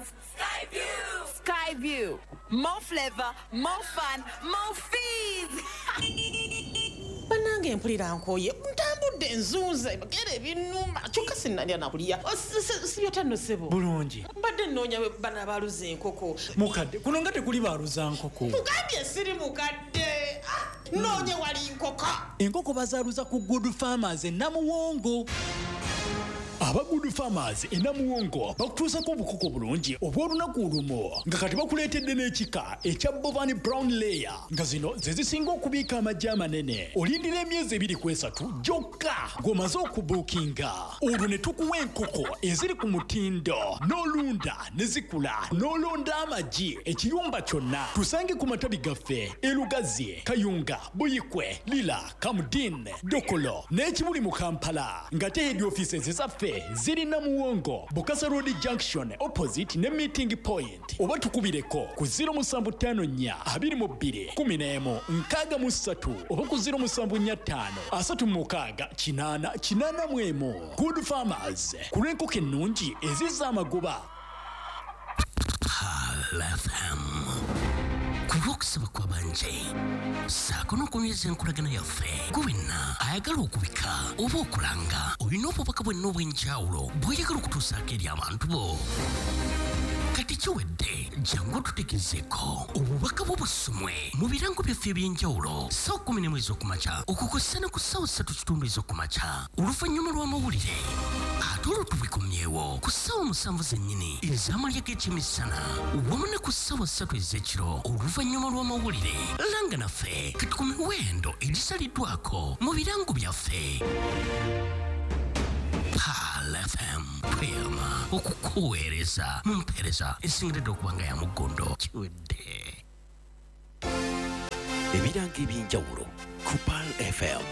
have Skyview. Skyview. More flavor, more fun, more fees. Bannange, mpulira nkooye, ntambudde, nzunze gera ebinnuma, kyokka sinnalya nakulya. Sibyota nno, ssebo? Bulungi. Mbadde nnoonya bana baaluza enkoko. Mukadde, kuno nga tekuli baaluza nkoko. Mugambye siri mukadde. Ah, noonye wali nkoko. Enkoko bazaaluza ku Good Farmers e Namuwongo. Aba Good Farmers e Namuwongo bakutuusako obukoko bulungi obw'olunaku olumu, nga kati bakuleetedde n'ekika ekya Bovani Brown Layer, nga zino ze zisinga okubiika amagi amanene. Olindira emyezi 2 ku 3 gyokka ng'omaze okubuukinga, olwo ne tukuwa enkoko eziri ku mutindo, n'olunda ne zikula, n'olonda amagi ekiyumba kyonna. Tusange ku matabi gaffe e Lugazi, Kayunga, Buyikwe, Lira, Kamdin, Dokolo n'ekibuli mu Kampala, ng'ate head offices zaffe ziri Namuwongo, Bukasa Road Junction, opposite ne Meeting Point, oba tukubireko ku 0754 22 11 63 oba ku 0745 36 8 81. Good Farmers, ku lw'enkoko ennungi ezizza amagoba. Pearl FM, ku lw'okusaba kw'abangi ssaako n'okunyweza enkolagana yaffe, gwe wenna ayagala okubika oba okulanga, olina obubaka bwenna obw'enjawulo bw'oyagala okutuusaako eri abantu bo, kati kiwedde. Jangu otutegezeeko obubaka bwo busomwe mu birango byaffe ebyenjawulo ssaawa 11 ez'okumakya okukosa ne ku ssaawa 3:15 ez'okumakya oluvannyuma lw'amawulire, ate olwo tubikomyewo ku ssaawa 7 zennyini ez'amalya g'ekyemisana, wamu ne ku ssaawa 3 ez'ekiro oluvannyuma lw'amawulire. Langa naffe kati ku miwendo egisaliddwako mu birango byaffe. Pearl FM, tweyama okukuweereza mu mpeereza esingiridde okuba nga ya muggondo. Kiwedde. Ebirango ebyenjawulo ku Pearl FM.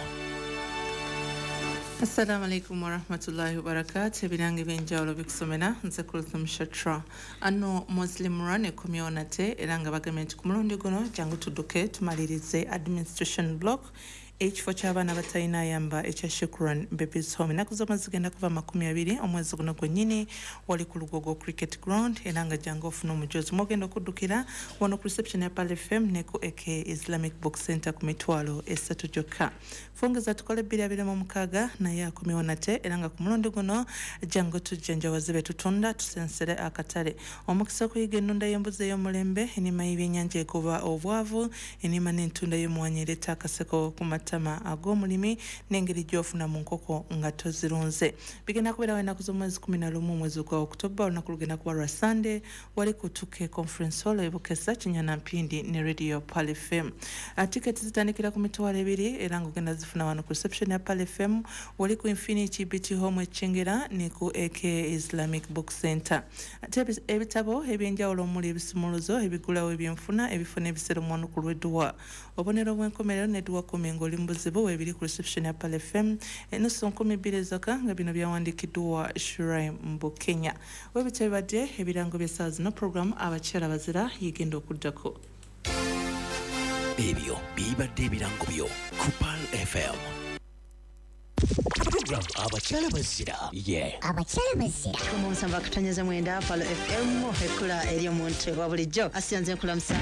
Assalamu alaikum warahmatullahi wabarakatu. Ebirango ebyenjawulo bikusomera nze Kulthum Shatra. Ano Muslim Run ekomyewo nate, era nga bagambye nti ku mulundi guno jangu tudduke tumalirize administration block ekifo ky'abaana batalina ayamba ekya Shukran Babies Home. Ennaku z'omwezi zigenda kuva 20 omwezi guno gwennyini, wali ku Lugogo Cricket Ground, era nga jangu ofuna omujozi. Mwogenda okuddukira wano ku reception ya Pearl FM ne ku AK Islamic Book Center ku 30,000 gyokka. Fungeza tukole 226 naye akomyewo nate, era nga ku mulundi guno jangu tujjanjawaze be tutunda, tusensere akatale. Omukisa okuyiga ennunda y'embuzi ey'omulembe, ennima y'ebyennyanja egoba obwavu, ennima n'entunda y'omuwanyi ereeta akaseko ku matama ag'omulimi, n'engeri gy'ofuna mu nkoko nga tozirunze, bigenda kubeerawo ennaku z'omwezi 11 omwezi gwa Okutoba. Olunaku lugenda kuba lwa Sunday, wali ku Tuke Conference Hall ebukesa Kinyana Mpindi ne Radio Pearl FM. Tiketi zitandikira ku 20,000, era ng'ogenda zifuna wano ku reception ya Pearl FM, wali ku Infinity BT Home Ekyengera ne ku AK Islamic Book Center. Ate ebitabo ebyenjawulo omuli ebisumuluzo ebigulawo ebyenfuna, ebifo n'ebiseera omwanuku lw'edduwa, obubonero bw'enkomerero n'edduwa 10 ng'oli mu buzibu, weebiri ku reception ya Pearl FM, enusu 2,000 ezokka, nga bino byawandiikiddwa Shuraim Bukenya. Webityo bibadde ebirango by'essaawa zino. Program Abakyala Bazira yegenda okuddako. Ebyo bibadde ebirango byo ku Pearl FM, program Abakyala Bazira ye Abakyala Bazira. 7.9 Pearl FM, ekkula eri omuntu wa bulijjo. Asiyanze nkulamusaako.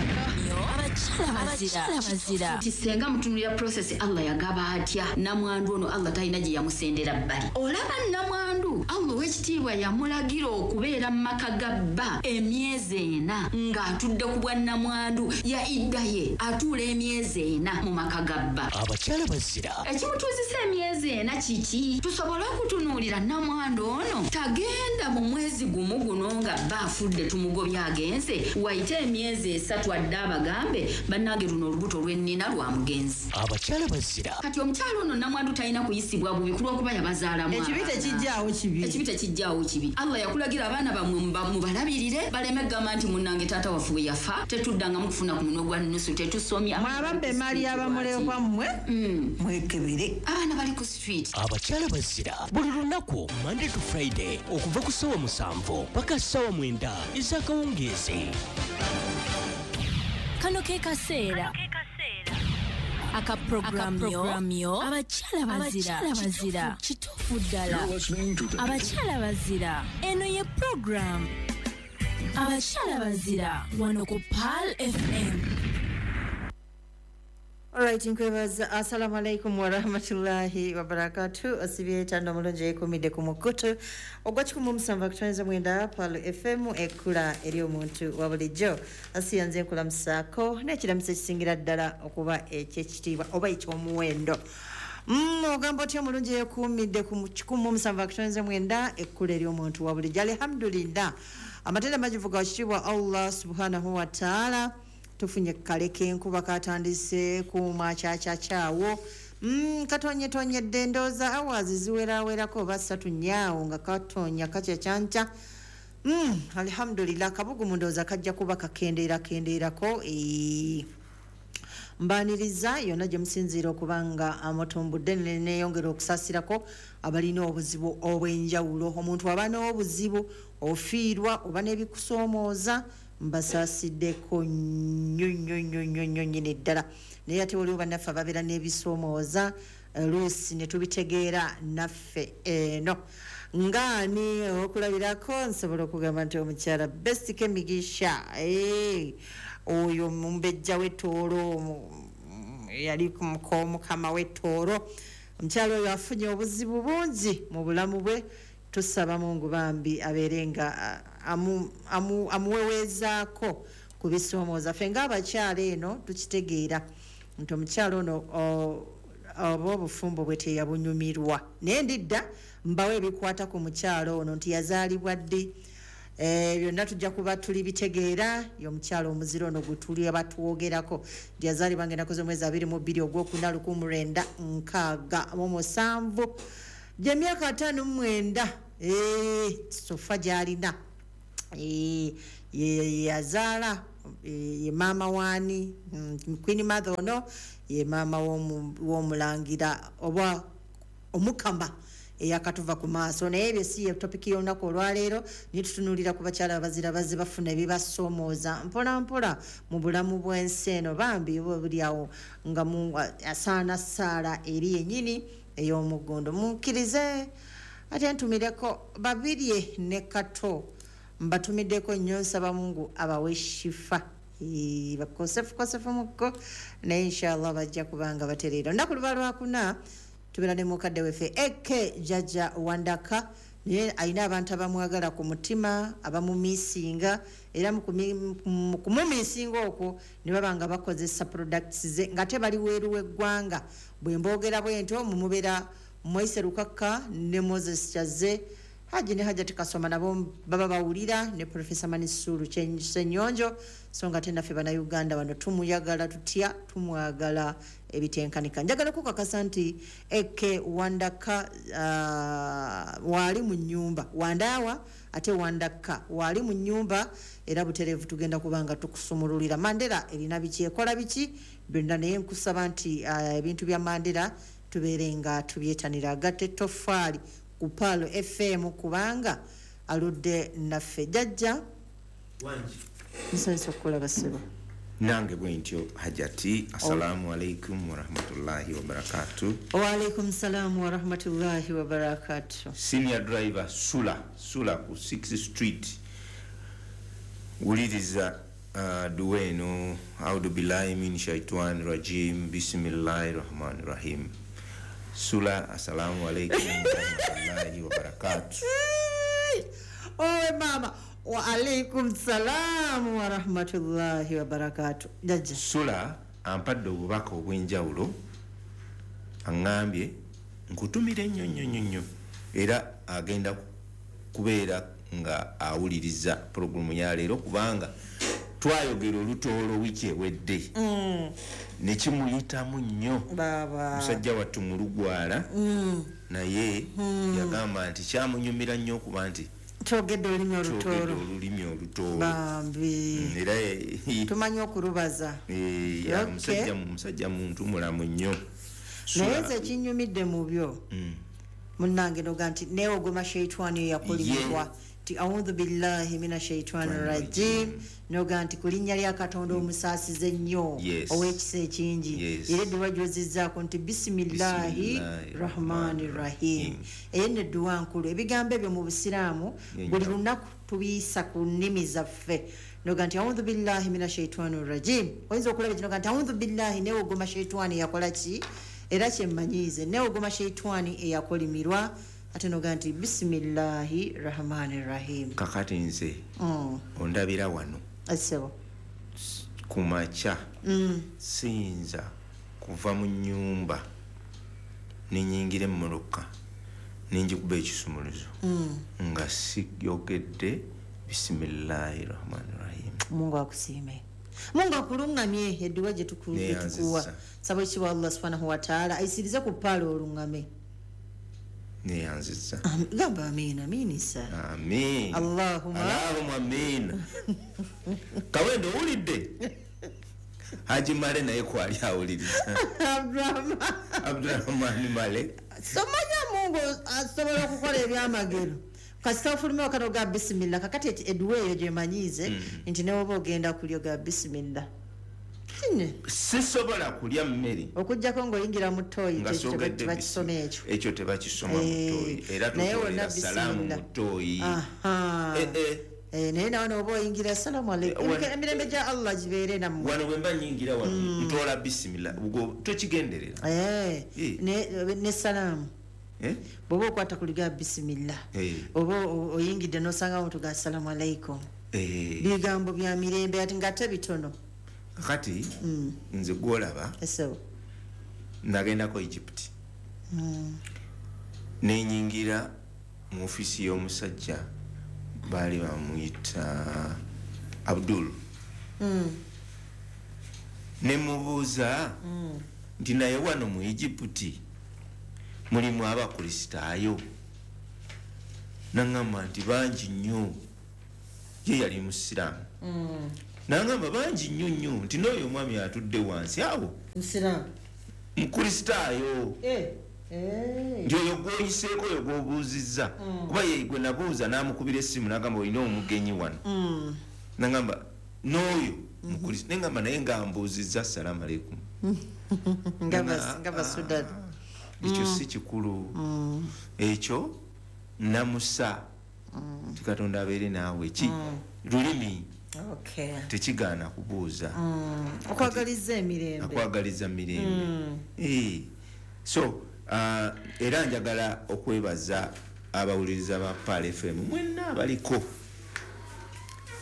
Abakyala Bazira. Nti senga mutunulira process, Allah yagaba atya namwandu ono? Allah talina gye yamusendera bbali. Olaba namwandu, Allah ow'ekitiibwa yamulagira okubeera mu maka ga bba emyezi 4 ng'atudde ku bwa namwandu. Ya idda ye atuula emyezi 4 mu maka ga bba. Abakyala Bazira. Ekimutuuzisa emyezi 4 kiki? Tusobole okutunuulira namwandu ono tagenda mu mwezi gumu guno nga bba afudde, tumugobye agenze, wayite emyezi 3 adde abagambe, "Bannange, luno olubuto lwennina lwa mugenzi." Abakyala Bazira. Kati omukyala ono namwandu talina kuyisibwa bubi kulwokuba yabazaalamu Ekibi abaana. Tekijjaawo kibi. Ekibi tekijjaawo kibi. Allah yakulagira abaana bammwe mubalabirire, baleme kugamba nti, "Munnange, taata waffe bwe yafa tetuddangamu kufuna ku munwe gwa nnusu, tetusomye." Mwababba emaali y'abamulekwa, mmwe mwekebere. Abaana bali ku street. Abakyala Bazira, buli lunaku Monday to Friday okuva ku ssaawa 7 paka ssaawa 9 ez'akawungeezi. Kano ke kaseera aka programu yo Abakyala Bazira. Kituufu ddala, Abakyala Bazira, eno ye programu. Abakyala Bazira wano ku Pearl FM. Alright, nkwebaza. Assalamu alaikum warahmatullahi wabarakatuh. Osibye tando mulungi ekumidde ku mukutu ogwa 179 Pearl FM, ekkula eri omuntu wa bulijjo. Asiyanze nkulamusaako n'ekiramuso ekisingira ddala okuba ekyekitiibwa oba ekyomuwendo. Ogamba otya omulungi ekuumidde ku 179 ekkula eri omuntu wa bulijjo? Alhamdulillah, amatenda majivu ga kitiibwa Allah subhanahu wa ta'ala. Tufunye kale k'enkuba katandise kumakyakyakyaawo, katonyetonyedde ndowooza awazi ziwerawerako oba ssatu nyaawo nga katonya kakyakyanca. Alhamdulillah, kabugumu ndowooza kajja kuba kakendeerakendeerako. Mbaniriza yonna gye musinziira okuba nga amutumbudde, neyongera okusaasirako abalina obuzibu obw'enjawulo. Omuntu aba n'obuzibu, ofiirwa oba n'ebikusoomooza, mbasaasiddeko nnyo nnyo nnyo nnyo nnyo nnyini ddala. Naye ate waliwo bannaffe ababeera n'ebisoomooza luusi ne tubitegeera naffe eno ngaani. Okulabirako nsobola okugamba nti omukyala Best Kemigisha, oyo mumbejja w'ettoolo, yali mukama w'ettoolo, omukyala oyo afunye obuzibu bungi mu bulamu bwe. Tusaba Mungu bambi abeere nga amuweweezaako ku bisoomooza. Ffe ng'abakyala eno tukitegeera nti omukyala ono oba obufumbo bwe teyabunyumirwa, naye ndidda mbawo ebikwata ku mukyala ono nti yazaalibwa ddi, byonna tujja kuba tuli bitegeera. Ye omukyala omuzira ono gwe tuli abatwogerako nti yazaalibwa ng'ennaku z'omwezi 22 ogwokuna 1967, gyemyaka 59 sofa gy'alina. Yazaala, ye maama waani? Queen Mother ono ye maama w'omulangira oba omukama eyakatuva ku maaso. Naye ebyo si ye topiki y'olunaku olwaleero. Naye tutunuulira ku bakyala abazira bazze bafuna ebibasoomooza mpola mpola mu bulamu bw'ensi eno. Bambi oba buli awo nga asaana ssaala eri yennyini ey'omuggondo. Mukkirize ate ntumireko Babirye ne Kato, mbatumiddeko nnyo, nsaba Mungu abawe shifa. Bakosefukosefu mukko, naye inshallah bajja kubanga batereera. Olunaku luba lwakuna tubeera ne mukadde weffe Eke Jjajja Wandaka, naye alina abantu abamwagala ku mutima, abamumiisinga, era mu kumumiisinga okwo ne baba nga bakozesa products ze nga te bali weeru w'eggwanga. Bwe mboogera bwe ntyo mumubeera Moise Lukaka ne Moses Kyazze, Haji ne Hajati Kasoma nabo baba bawulira, ne Professor Manisuru Ssenyonjo. So nga te naffe bannayuganda wano tumuyagala tutya, tumwagala ebitenkanika. Njagala kukakasa nti Eke Wandaka waali mu nnyumba wandaawa, ate Wandaka waali mu nnyumba, era butereevu tugenda kuba nga tukusumululira Mandela erina biki, ekola biki byonna. Naye nkusaba nti ebintu bya Mandela tubeere nga tubyetanira. Agatte ettoffaali ku Pearl FM kubanga aludde naffe. Jjajja, nsanyusa okukulaba ssebo. Nange bwentyo Hajati. Assalamu alaikum warahmatullahi wabarakatu. Waalaikum salaamu warahmatullahi wabarakatu. Senior driver Sula Sula ku 6th Street, wuliriza duwa eno: audu billahi min shaitani rajim, bismillahi rahmani rahim. Sula, assalamu alaikum warahmatullahi wabarakatu. Owe mama, wa alaikum salaamu warahmatullahi wabarakatu. Jjajja Sula ampadde obubaka obw'enjawulo, aŋŋambye nkutumire nnyo nnyo nnyo nnyo, era agenda kubeera nga awuliriza pulogulaamu ya leero kubanga twayogera olutoolo wiiki ewedde nekimuyitamu nnyo. Baba musajja wattu mulugwala, naye yagamba nti kyamunyumira nnyo okuba nti twogedde olulimi twogedde olutoolo. Olulimi olutoolo. Bambi. Era tumanyi okulubaza. Ya, musajja muntu mulamu nnyo. Naye nze ekinyumidde mu byo, munnange, noga nti neewogoma sheitwani eyakolimibwa. Ti audhu billahi mina shaitani rajim, noga nti ku linnya lya Katonda omusaasize ennyo, ow'ekisa ekingi. Era edduwa gy'ozizzaako nti bisimillahi rahmani rahim. Eyo nno edduwa nkulu. Ebigambo ebyo mu Busiraamu buli lunaku tubiyisa ku nnimi zaffe. Noga nti audhu billahi mina shaitani rajim, oyinza okulaba kino ga nti audhu billahi, neewogoma shaitani yakola ki, era kyemmanyiize neewogoma shaitani eyakolimirwa. Ate noga nti bisimillahi rahmani rahim. Kakati nze ondabira wano Asebo. Ku makya siyinza kuva mu nnyumba nenyingira emmotoka nenjikuba ekisumuluzo nga siyogedde bisimillahi rahmani rahim. Mungu akusiime, Mungu akuluŋŋamye. Edduwa gye tukuwa, saba ekitiibwa Allah subhanahu wataala ayisirize ku ppaala oluŋŋame. Neyanziza. Gamba amiina, amiinisa. Amin. Allahumma Allahumma amin. Kawendo owulidde? Haji Male naye kwali awuliriza. Abdurahman Male. Somanya Mungu asobola okukola ebyamagero. Kasita ofuluma wakati ga bisimillah. Kakati edduwa eyo gyemanyiize nti ne woba ogenda kulya ga bisimillah. Sisobola kulya mmere okuggyako ng'oyingira mu ttooyi, nga sogedde tebakisoma ekyo. Ekyo tebakisoma mu ttooyi, era Naye wonna tutolera salaamu bisimillah. mu ttooyi. Eh, naye nawe noba oyingira assalamu alaikum, emirembe gya Allah gibeere nammwe. Wano bwe mba nyingira wano ntoola bisimillah, ubwo tokigenderera. Ne salaamu bw'oba okwata ku liga bisimillah, oba oyingidde n'osanga omuntu ga assalamu alaikum, bigambo bya mirembe ate ng'ate bitono. Kakati nze gwolaba Esebo. nagendako Egypt, nenyingira mu ofiisi y'omusajja baali bamuyita Abdul. Nemubuuza nti naye wano mu Egypt mulimu abakristaayo? Naŋŋamba nti bangi nnyo. Ye yali musiraamu. Naŋŋamba bangi nnyo nnyo, nti n'oyo omwami atudde wansi awo Musiraamu. Mukristaayo. Nti oyo gwoyiseeko, oyo gwobuuzizza, kuba ye gwe nabuuza n'amukubira essimu n'agamba olina omugenyi wano. Naŋŋamba n'oyo mukristo, neŋŋamba naye nga mbuuzizza assalamu aleikum. Nga Basudan. Ekyo si kikulu. Ekyo namusa nti Katonda abeere naawe. Ki lulimi tekigaana kubuuza. Okwagaliza emirembe. Akwagaliza mirembe. So era njagala okwebaza abawuliriza ba Pearl FM mwenna abaliko.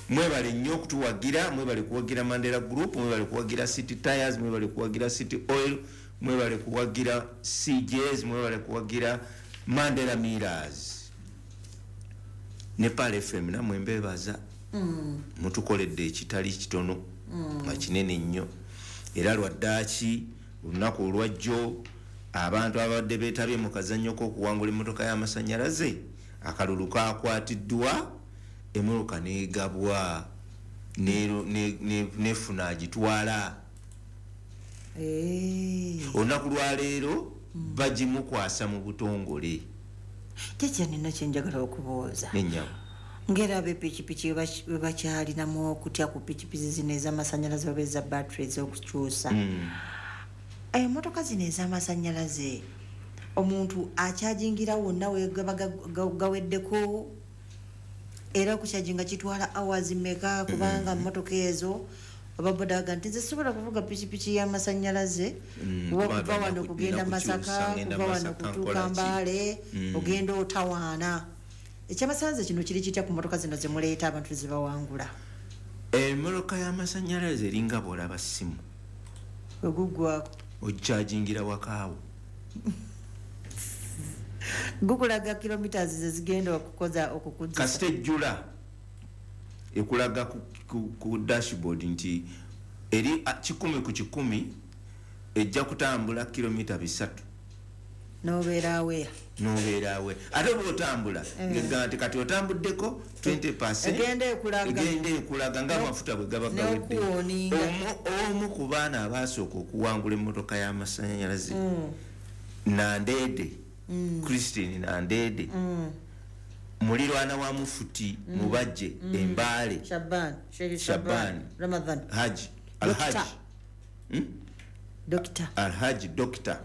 Mwebale nnyo okutuwagira, mwebale kuwagira Mandela Group, mwebale kuwagira City Tires, mwebale kuwagira City Oil, mwebale kuwagira CJs, mwebale kuwagira Mandela Mirrors ne Pearl FM. Nammwe mbeebaza, mutukoledde ekitali kitono nga kinene nnyo. Era lwaddaaki olunaku olwajjo abantu abadde beetabye mu kazannyo k'okuwangula emmotoka y'amasannyalaze, akalulu kakwatiddwa, emmotoka n'egabwa, nefuna agitwala. Olunaku lwaleero bagimukwasa mu butongole. Jjajja, nina kyenjagala okubuuza. Nennyabo. Ngera ab'epikipiki bwe bakyalinamu okutya ku pikipiki zino ez'amasannyalaze oba eza battery ez'okukyusa, emmotoka zino ez'amasannyalaze omuntu akyajingira wonna wegaba gaweddeko? Era okukyajinga kitwala hours mmeka? Kubanga mmotoka ezo ababodaga nti nze sobola kuvuga pikipiki y'amasannyalaze, kuba kuba kuva wano kugenda nina kukyusa, Masaka, ngenda kuva wano Masaka, kutuuka nkola ki? Mbale, ogenda otawaana. Ekyamasannyalaze kino kiri kitya ku mmotoka zino zemuleeta abantu zebawangula? Emmotoka y'amasannyalaze eringa bw'olaba ssimu, weguggwako okyajingira wakaawo. Gukulaga kilometers zezigenda okukoza okukuzisa? Kasita ejjula ekulaga ku dashboard nti eri 100% ejja kutambula kilomita 300. Nobeera aweya. Nobeerawe. Ate oba otambula ngegamba nti kati otambuddeko 20%. Egenda ekulaga. Egenda ekulaga ng'amafuta bwe gaba gawedde. N'okuwoninga. Omu ku baana abaasooka okuwangula emmotoka y'amasannyalaze, Nandede Christine Nandede, Mulirwana wa Mufuti Mubajje Embale Shaban, Sheikh Shaban Ramadhan Haji Alhaji Doctor Alhaji Doctor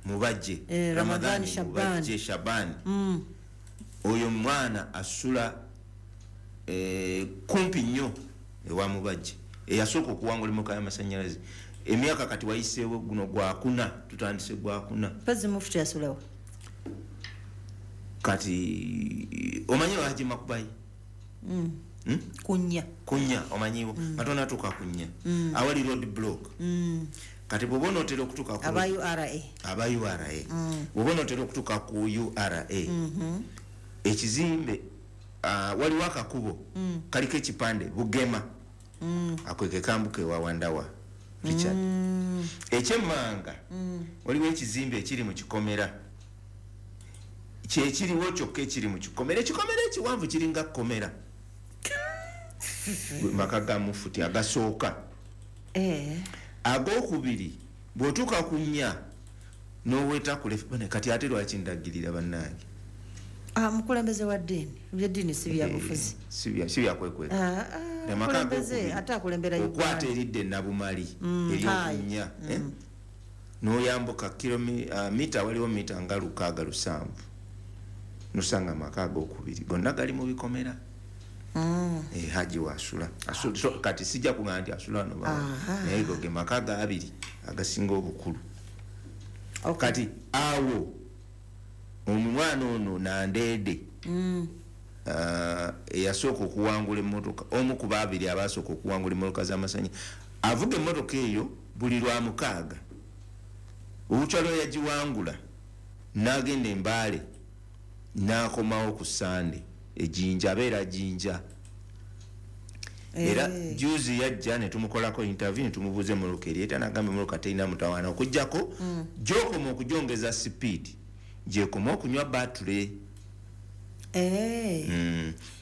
Mubajje Ramadhan Shaban Mubajje Shaban. Oyo mwana asula kumpi nnyo ewa Mubajje, eyasooka okuwangula emmotoka y'amasannyalaze. Emyaka kati wayiseewo guno gwakuna, tutandise gwakuna. Mpozzi Mufuti yasulawo kati omanyi Haji Makubayi? Kunya omanyiwo nga tonatuuka kunya awali road block. Kati bw'oba onootera okutuuka ku aba URA, aba URA, bw'oba onootera okutuuka ku URA ekizimbe, waliwo akakubo kaliko ekipande Bugema, ako ke kambuka ewa Wandawa Richard. Ekyemmanga waliwo ekizimbe ekiri mu kikomera, kyekiriwo kyokka ekiri mu kikomera, ekikomera ekiwanvu kiringa kkomera. Maka ga Mufuti agasooka. Agokubiri bw'otuuka ku nnya n'oweta ku left, kati ate lwaki ndagirira bannange? Mukulembeze wa ddiini, ebyeddiini si byabufuzi, si byakwekweka. Mukulembeze ate akulembera Uganda. Okwata eridde Nabumali eryokunnya n'oyambuka mita, waliwo mita nga 607 nosanga amaka agokubiri gonna gali mu bikomera. Haji wasula kati sijja kugamba nti asula wano, naye go ge maka ga abiri agasinga obukulu. Kati awo omwana ono Nandede eyasooka okuwangula emmotoka, omu ku babiri abasooka okuwangula emmotoka z'amasanyi, avuga emmotoka eyo buli lwa mukaaga. Olukyalo yagiwangula n'agenda Embaale n'akomawo ku Sande ejinja, abeera Jinja. Era juzi yajja ne tumukolako interview ne tumubuuza emmotoka eryeta, n'agamba emmotoka terina mutawaana okuggyako gy'okoma okugyongeza sipiidi gyekoma okunywa batule.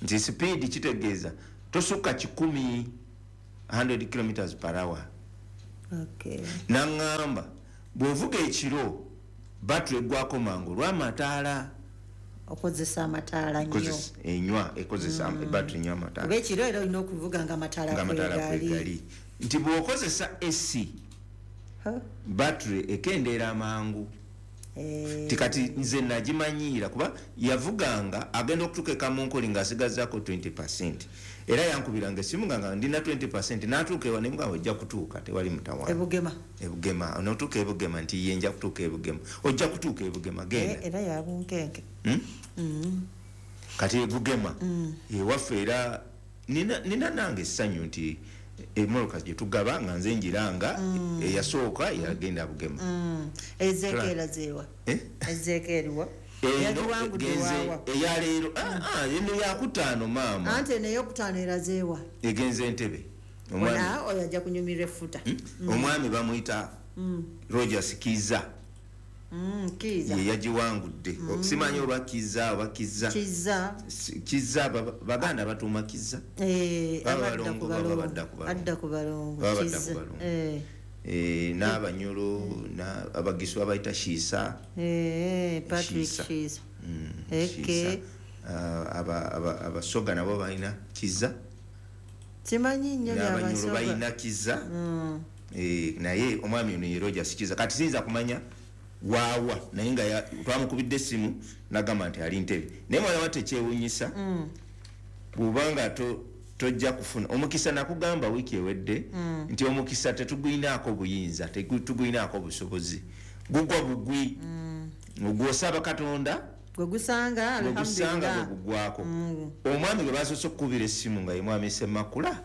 Nti sipiidi kitegeeza tosukka 100 km per hour. N'aŋŋamba bw'ovuga ekiro batule eggwako mangu olw'amataala, okozesa amataala nnyo, enywa ekozesa battery enywa amataala. Oba ekiro era olina okuvuga nga amataala kwegali. Nti bw'okozesa AC battery ekendeera amangu. Ti kati nze nagimanyiira kuba yavuganga agenda okutuuka e Kamunkoli ng'asigazaako 20%. Era yankubiranga essimu nga ndina 20%, n'atuuka ewa ne mugamba ojja kutuuka tewali mutawaana. Ebugema onootuuka Ebugema nti ye nja kutuuka Ebugema, ojja kutuuka Ebugema genda. Era yabunkenke. Kati Ebugema ewaffe era nina nange essanyu nti emmotoka gye tugaba nga nze njiranga eyasooka yagenda Bugema. Ezeekera zeewa? Ezeekeriwa? Eyaleero eno yakutaano maama. Anti eno eyokutaano erazeewa? Egenze Entebbe. Oyo ajja kunyumirwa effuta. Omwami bamuyita Rogers Kiza. Kiza ye yagiwangudde. Simanyi oba Kiza oba Kiza. Kiza Baganda batuuma Kiza. Balongo baba badda ku balongo. Adda ku balongo. Kiza. N'Abanyolo Abagisu abayita Shiisa. Patrick Shiisa. Abasoga nabo balina Kiza. Simanyi nnyo by'Abasoga. Balina Kiza. Naye omwami ono ye Rogers Kiza. Kati siyinza kumanya waawa, naye nga twamukubidde essimu n'agamba nti ali Ntebe. Naye mwana wa tekyewuunyisa bw'obanga tojja kufuna omukisa. Nakugamba wiiki ewedde nti omukisa tetugulinaako buyinza, tetugulinaako busobozi, gugwa bugwi. Ogwosaba Katonda gwe gusanga, alhamdulillah gwe gugwako. Omwami gwe basoose okukubira essimu nga ye mwami Ssemakula,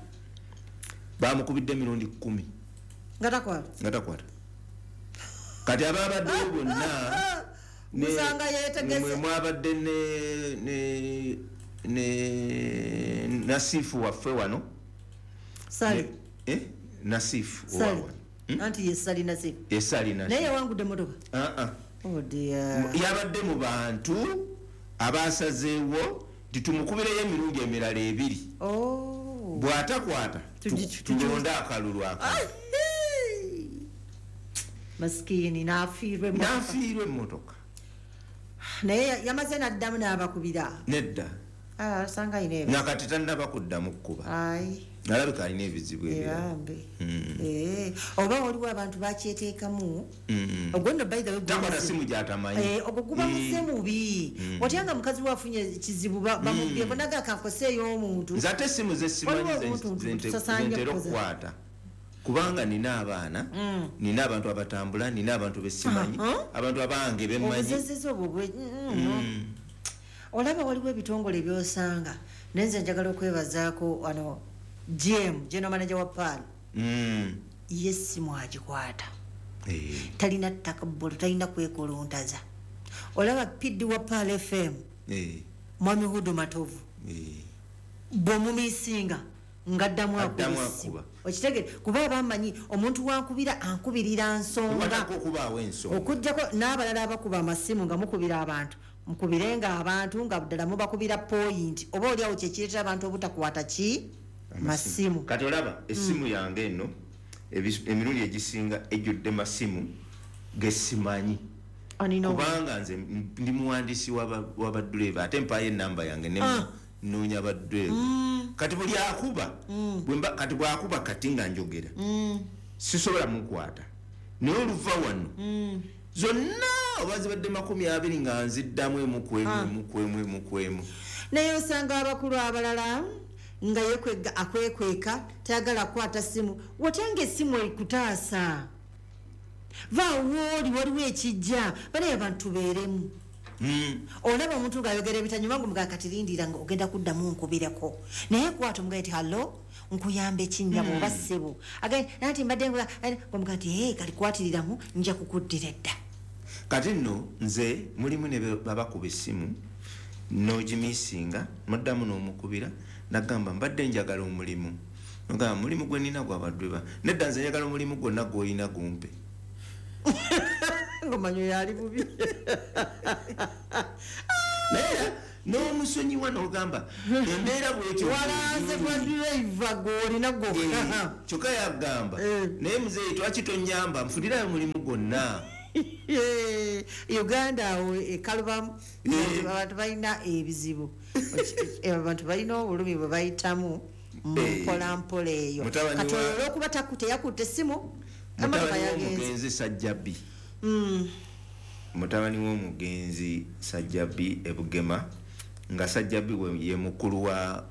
bamukubidde emirundi 10 nga takwata. Kati ababaddeyo bonna musanga yeetegese. Mwabadde ne Nasifu waffe wano. Sali. Nasifu wano. Anti ye Sali Nasifu. Ye Sali Nasifu. Naye yawangudde emmotoka. Oh dear. Yabadde mu bantu abasazeewo nti tumukubireyo emirundi emirala ebiri. Bw'atakwata tulonde akalulu ako. Maskini n'afiirwa emmotoka. Naye yamaze n'addamu n'abakubira? Nedda. Osanga alina ebizibu. Nakati tannaba kuddamu kkuba. Ayi. Alabika alina ebizibu ebirala. Ebambe. Oba waliwo abantu bakyeteekamu. Ogwo nno, by the way, guba Takwata muzibu. simu gy'atamanyi. Ogwo guba muze mubi. Watya nga mukazi we afunye ekizibu, bamubyeko naga kankoseeyo omuntu. Nze ate essimu zesimanyi Waliwo obuntu tusasaanya zentera kukoza. okukwata, kubanga nina abaana, nina abantu abatambula, nina abantu besimanyi, abantu abange bemmanyi. Obuzezezi obwo olaba waliwo ebitongole byosanga, naye nze njagala okwebazaako wano GM, general manager wa Pearl. Ye simu agikwata. Talina takabbolo, talina kwekuluntaza. Olaba PD wa Pearl FM, Mwami Hudu Matovu, bw'omumiisinga ngaddamu Addamu akuba essimu. akuba. Okitegere, kuba aba amanyi omuntu wankubira ankubirira nsonga. Wataka okubaawo ensonga. Okugjako n'abalala abakuba amasimu nga mukubira abantu, mukubirenga abantu nga ddala mubakubira point, oba oliawo kyekireetera abantu obutakwata ki masimu. Kati olaba essimu yange eno, emirundi egisinga ejjudde masimu gesimanyi, kubanga nze ndi muwandiisi w'abadduleeva, ate mpaayo enamba yange ne nnoonya badduleeva. Kati buli akuba, kati bwakuba kati nga njogera, sisobola mukwata, naye oluva wano zonna oba zibadde 20 nga nziddamu emu ku emu, emu ku emu, emu ku emu. Naye osanga abakulu abalala nga yekwega, akwekweka, tayagala kukwata simu. Watya nga essimu ekutaasa? Vaawo oli waliwo ekijja banaye abantu tubeeremu. Olaba omuntu ng'ayogera ebitanyuma, nga omugaa kati lindira nga ogenda kuddamu nkubireko, naye kwata omugaye nti, "Hallo, nkuyamba ekinnyabo oba ssebo?" Agaye nanti mbadde omugaa nti, "Ee, kalikwatiriramu, nja kukuddira edda." Kati nno nze mulimu ne babakuba essimu n'ogimisinga, muddamu n'omukubira nagamba, "Mbadde njagala omulimu." Ogamba, "Mulimu gwe nina gwabadweba." "Nedda, nze njagala omulimu gwonna gw'olina gumpe." Ngomanyo yali bubi. Naye n'omusonyiwa n'ogamba embeera bwetyo. Walanze gwa driver gw'olina gwokka. Kyokka yagamba, "Naye muzeeyi, twaki tonyamba nfunirayo omulimu gwonna?" Uganda awo ekalubamu, abantu balina ebizibu. Abantu balina obulumi bwe bayitamu mu mpolampola eyo. Mutabani Kati oyo olwokuba teyakutte essimu, emotoka Mutabani yagenze. w'omugenzi Sajjabi, mutabani w'omugenzi Sajjabi ebugema, nga Sajjabi ye mukulu wa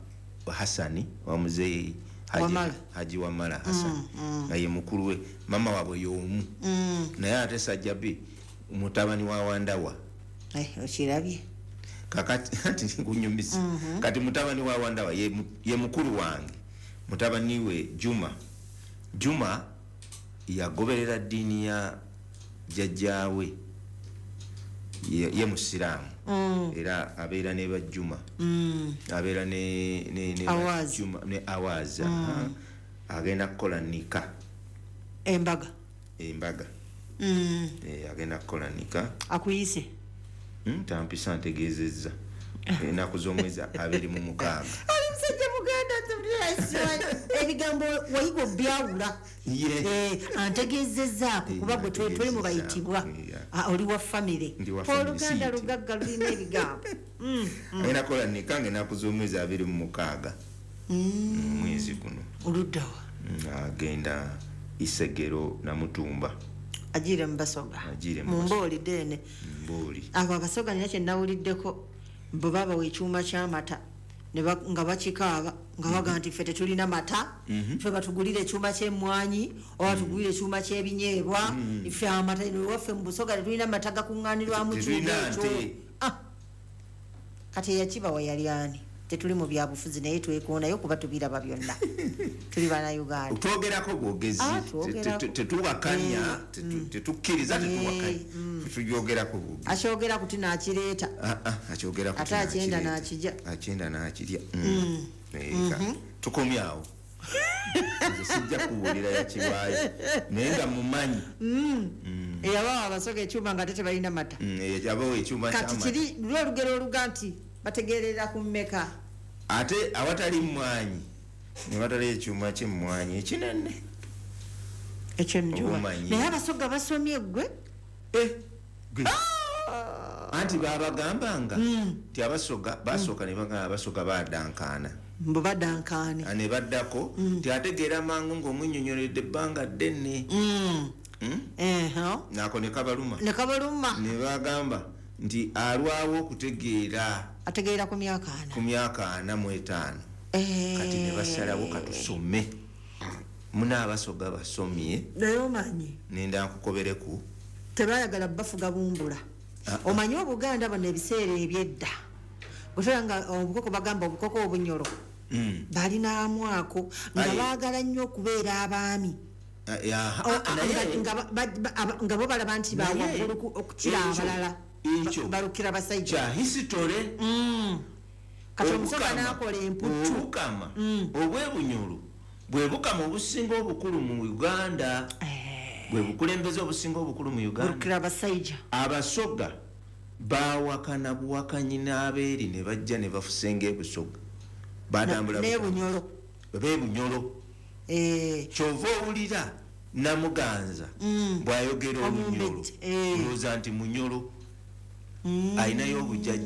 Hasani wa muzeeyi Wamala. Haji Wamala Hasani, nga ye mukulu we, mama waabwe y'omu. Naye ate Sajjabi mutabani wa Wandawa. Okirabye. Kakati ati nkunyumisa. Kati mutabani wa Wandawa ye mukulu wange, mutabani we Juma. Juma yagoberera ddiini ya jjajjaawe, ye musiraamu. Era abeera ne bajjuma, abeera ne Awazi. Juma ne Awazi. Aha. Agenda kukola nika. Embaga. Embaga. Agenda kukola nika. Akuyise? Tampisa, ntegeezezza ennaku z'omwezi 26. Ali musajja muganda, ebigambo wayiga obyawula. Antegeezezzaako kuba gwe toli mu bayitibwa. Ah, oli wa famire. Ndi wa family, Oluganda siyiti. lugagga lulina ebigambo. Agenda kukola nika nga ennaku z'omwezi 26 mwezi guno. Oluddawa? Agenda Isegero, Namutumba. Agiire mu Basoga. Agiire mu Mu Mbooli deene. Mbooli. Abo Abasoga nina kye nawuliddeko, bwe babawa ekyuma ky'amata nga bakikaaba nga baga nti, "Ffe tetulina mata. Ffe batugulire ekyuma ky'emmwanyi oba batugulire ekyuma ky'ebinyeebwa. Ffe amata eno ewaffe mu Busoga tetulina mata gakuŋŋaanirwamu kyuma Tetulina ekyo." nte. Kati eyakibawa yali ani? Tetuli mu byabufuzi, naye twekonayo kuba tubiraba byonna, tuli Bannayuganda. Twogerako bwogezi. Ah, twogerako. Tetuwakanya, tetukkiriza, tetuwakanya, tutugyogerako bwogezi. Akyogera kuti n'akireeta. Ah, ah, akyogerako. Ate akyenda n'akijja. Akyenda n'akirya. Tukomye awo, nze sijja kubuulira yakibaayo, naye nga mumanyi. Eyabawa Abasoga ekyuma nga ate tebalina mata. Yabawa ekyuma Kati ky'amata. kiri luli olugero oluga nti bategerera ku mmeka? Ate awatali mmwanyi ne batali ekyuma kyemmwanyi ekinene. Ekyo njuba. Obumanyi. Naye Abasoga basomye, gwe. Gwe. Anti babagambanga nti Abasoga basooka ne bagamba Abasoga badankaana. Mbu badankaane. Ne baddako nti ategeera mangu ng'omunnyonnyoledde ebbanga ddene. Nako ne kabaluma. Ne kabaluma. Ne bagamba nti alwawo okutegeera. Ategeera ku myaka 4. Ku myaka 45. Kati ne basalawo katusome. Muna Abasoga basomye. Naye omanyi. Nenda nkukobereku. Tebayagala bafuga bumbula. Omanyi Obuganda bano ebiseera ebyedda. Bwetera nga obukoko bagamba obukoko obunyolo. Balina amwako nga baagala nnyo okubeera abaami. Nga bo balaba nti bawaggulu okukira abalala. Balukira basajja. Kya history. Kati Omusoga n'akola emputtu. Obukama obw'ebunyolo bwe bukama obusinga obukulu mu Uganda. Bwe bukulembeze obusinga obukulu mu Uganda. Balukira basajja. Abasoga baawakana buwakanyi n'abeeri ne bajja ne bafusenga ebusoga. Batambula n'ebunyolo. B'ebunyolo. Kyova owulira Namuganza bw'ayogera olunyolo. Olowooza nti munyolo. Alinayo obujjajja.